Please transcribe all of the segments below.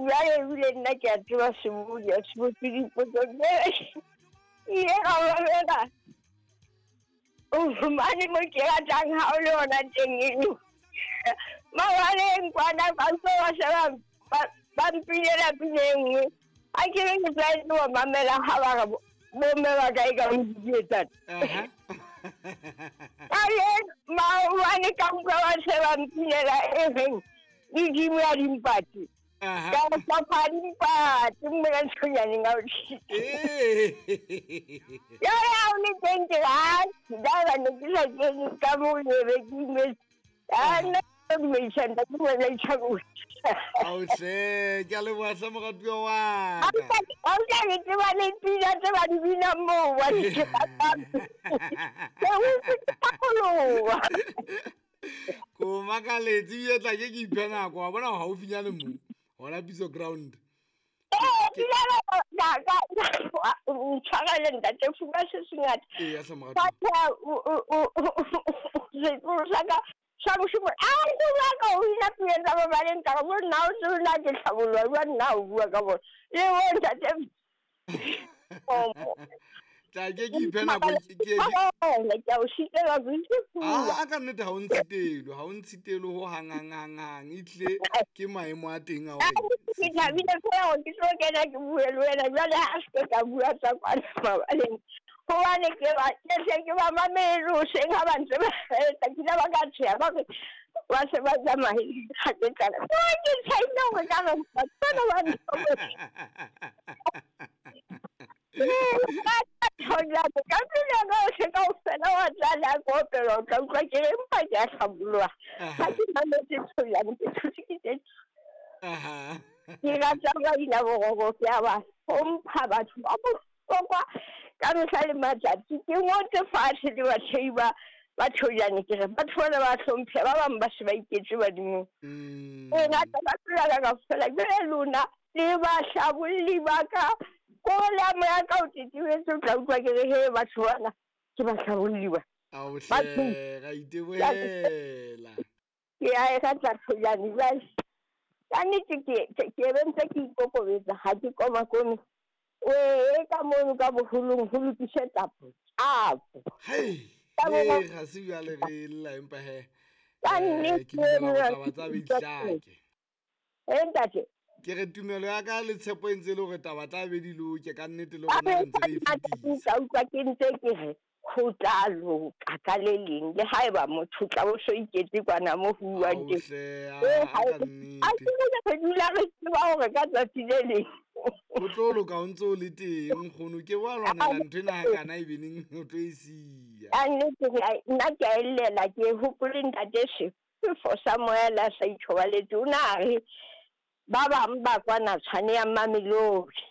Jwale ebile nna ke a tseba sebodi, a se botse dipotso tse. Ke ile ka mamela. O fumane mo ke ratang ha o le hona teng eno. Mabaleng kwana ba utlwa ba se ba mpinela pina e nngwe. Ha ke re ke tlwaetse ho mamela ha ba re bomme ba ka e ka modidietsana. Ka le maobane ka utlwa ba se ba mpinela e reng medimo ya dimpate. Ka hlopha dimpate mona nthonyaneng a o Jwale ha o le teng ke re atjhe, ka ne ke sa kene ka moo ke be ke imetse. Ah, nna ke dumedisa ntate Molaetsa. Ao hle, ke a leboha hle moratuwa wa ka. Ha o tla ke tseba le pina tse ba di binang moo ba di ratang. Ke utlwe ke hlapoloha. Ko makaletse ebile tla ke ke iphe nako wa bona haufinyane mo hona Piso Ground. Ee, ntshwarele ntate Fuma se sengata. Ee, hle moratuwa. Setloholo sa ka sa moshemane a ke nyaka ho bina pina tsa mabaleng ka re bo nna o tsebe na ke hlabolwa jwang nna o bua ka bona le bo ntate. Tla ke ke iphe nako ke ke a o sitelwa ke itse pula. A ka nnete ha o ntshitelwe, ha o ntshitelwe ho hang hang hang hang e tlile ke maemo a teng a hore ke thabile fela hore ke tlo kena ke bue le wena jwale ha se ke ka bua tsa kwana mabaleng hobane ke ba ke hle ke ba mamele hoseng ha ba ntse ba etsa ke ile ba ka tsheha ba re ba se ba tsamaile ga ke tlala ke tshwaile hore ka re batho bana ba ka pele ka ohle kaofela wa tlala ko opela o tla utlwa ke re empa ke a hlaboloha ha ke mametse Tshojane ke thotse ke tse ke rata maina boroko ke a ba hlompha batho ba bohlokwa ka mehla le matsatsi ke ngotse fatshe le bathei ba ba Tshojane ke re batho bana ba hlomphe ba bang ba se ba iketse badimong. E rata ka pela ka kaofela jwale lona le bahlabolli ba ka ko le a moya ka o tetebetse o tla utlwa ke re he batho bana ke bahlabolli ba. Ao hle, ra itebohela. Ke a e rata Tshojane jwale ka nnete ke be ntse ke ikokobetsa ha ke komakome e ka mono ka boholong ho lokise tapo tapo. Hei, ga se bjale re lla empa he Ka nnete ke dumela gore taba tsa be di hlake. E ntate Ke re tumelo ya ka le tshepo e ntse e le hore taba tla be di loke ka nnete le rona re ntse re e fetisa. Ka utlwa ke ntse ke re ho tla loka ka le leng le haeba motho tla bo so iketse kwana mo ho buang teng. Hle, Eh, a ha ka a nnete. ke re dula re tseba hore ka tsatsi le leng O tlo loka o ntse o le teng nkgono ke wa lwanela ntho ena hakana e beneng o tlo e siya. Ka nnete nna ke a ellela ke hopole ntate Sefo sa moya le a sa ithobaletse o na re ba bang ba kwana tshwane ya Mamelodi.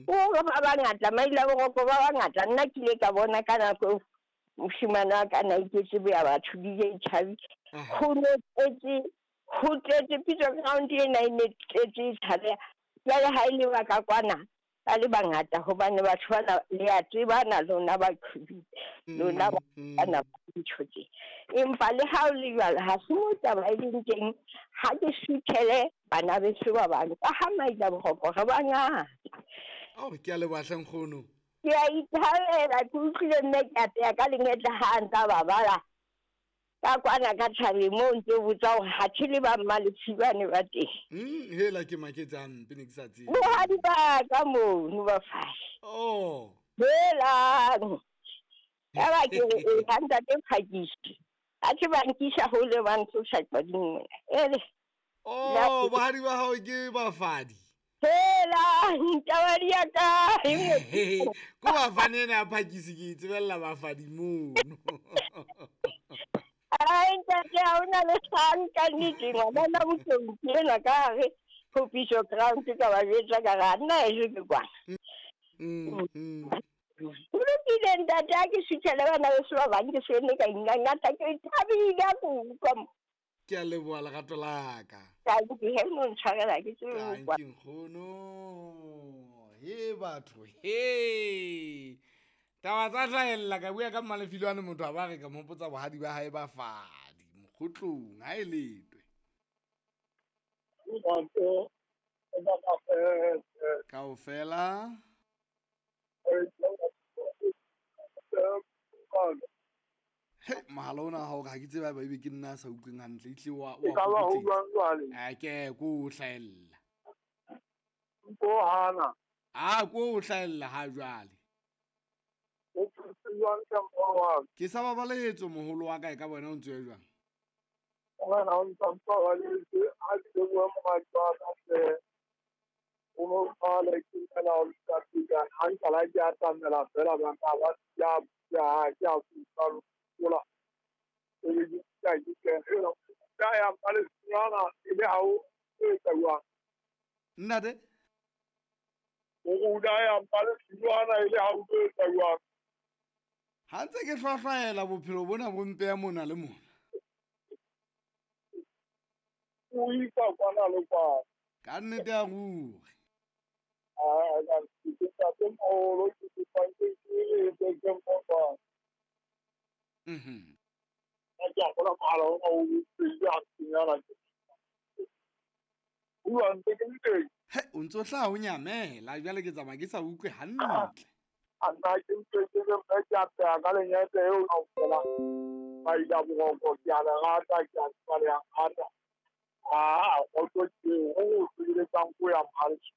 O re ba bangata maila boroko ba bangata nna ke ile ka bona ka nako eo moshemane wa ka na iketse boya batho DJ Chabi ho no tletse ho tletse Piso Ground ena e ne tletse e tshabeha jwale ha e le ba ka kwana ba le bangata hobane batho bana le a tsebana lona ba qhobile lona ba bana ba ntho tse empa le ha o le jwalo ha se mo taba e leng teng ha ke suthele bana beso ba bang ka ha maila boroko re bangata. Ao ke a leboha hle nkgono. Ke a ithabela ke utlwile mme ke a teya ka lengetla ha a ntsa ba bala ka kwana ka thabeng moo ntse o botsa hore ha the le ba Mmalefibane ba teng. Hela ke maketse hampe ne ke sa tsebe. Bohadi ba ka mono ba fatshe. Oh. Helang. Ya ba ke re e ha ntate Phakisi. Ha ke ba nkisa hole ba ntlosa qading mona. Ele. Oh, bohadi ba hao ke bafadi. Hela, ntaba di ya kae? Ko bafane ena ya Phakisi ke e tsebella bafadi mono. Ai, ntate, ha hona le kgang ka nnete ngwanana Motlou ke enwa ka hare ho Piso Ground ka ba jwetsa ka re ha nna heso ke kwana. Ho lokile ntate ha ke suthele bana beso ba bang ke se ne ka ingangata ke thabile ha ke utlwa mo. Ke a leboha lerato la ka. Tanki he no ntshwarela ke tsebe ho kwa. Tanki nkgono. He batho he. Taba tsa hlahella ka bua ka Mmalefilwane motho a ba re ka mo hopotsa bohadi ba hae ba fadi mokgotlong ha e letwe. Lerato Kaofela. He, mohala ona wa hao ha ke tsebe haeba ebe ke nna a sa utlweng hantle, ehlile wa E ka ba ho jwang jwale? A ke ko o hlahella. Ko hana. A ko o hlahella ha jwale. O phetse jwang ka moholo wa ka? Ke sa babaletso moholo wa ka e ka bona o ntse o ya jwang? Morena o ntsa mpabaletse ha ke lebohe moradi wa ka hle. O no qale ke fela o ka ha nkala ke atamela fela ba ka ba ya ya ke a kutlwa lola. E be ke ka ke kena. Ka ya Palestina e le ha o etsa jwang? Ntate? O ruta ya Palestina e le ha o etsa jwang? Ha ntse ke hlwahlwaela bophelo bona bo mpeya mona le mona. O isa kwana le kwana. Ka nnete ya ruri. A ka ke ntate moholo ke kopa ke ke ke mmopa. Mhm. Ka ke a gola mohala ona o pedi a senyana ke. Bua ntse ke le teng. He, o ntso hlaha o nyamela jwale ke tsamaya ke sa utlwe hantle. A nna ke ntse ke le mme ke a pheha ka lenyete eo kaofela. Ba ila boroko ke a le rata ke a tseba le a nrata. Ah, kgotso ke eo ho o sebeletsang ko ya Mohaleso.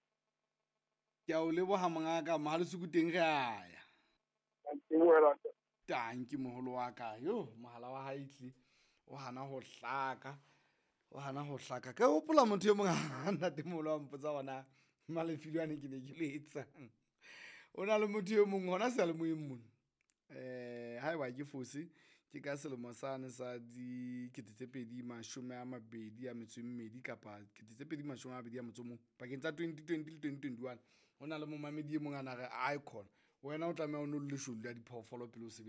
Ke a o leboha mongaka, Mohaleso ko teng re a ya. Ke wela. Tanki moholo wa ka. Yo, mohala wa hae tle o hana ho hlaka. O hana ho hlaka. Ke hopola motho e mong ha ntate moholo wa mpotsa hona Malefilwane ke ne ke le etsang. O na le motho e mong hona seyalemoyeng mona. Haeba ke fose ke ka selemo sane sa 2022 kapa 2021 pakeng tsa 2020 le 2021. Ho na le momamedi e mong a na re icon. Wena o tlameha o no le leshodu la diphoofolo pele o sebetsa.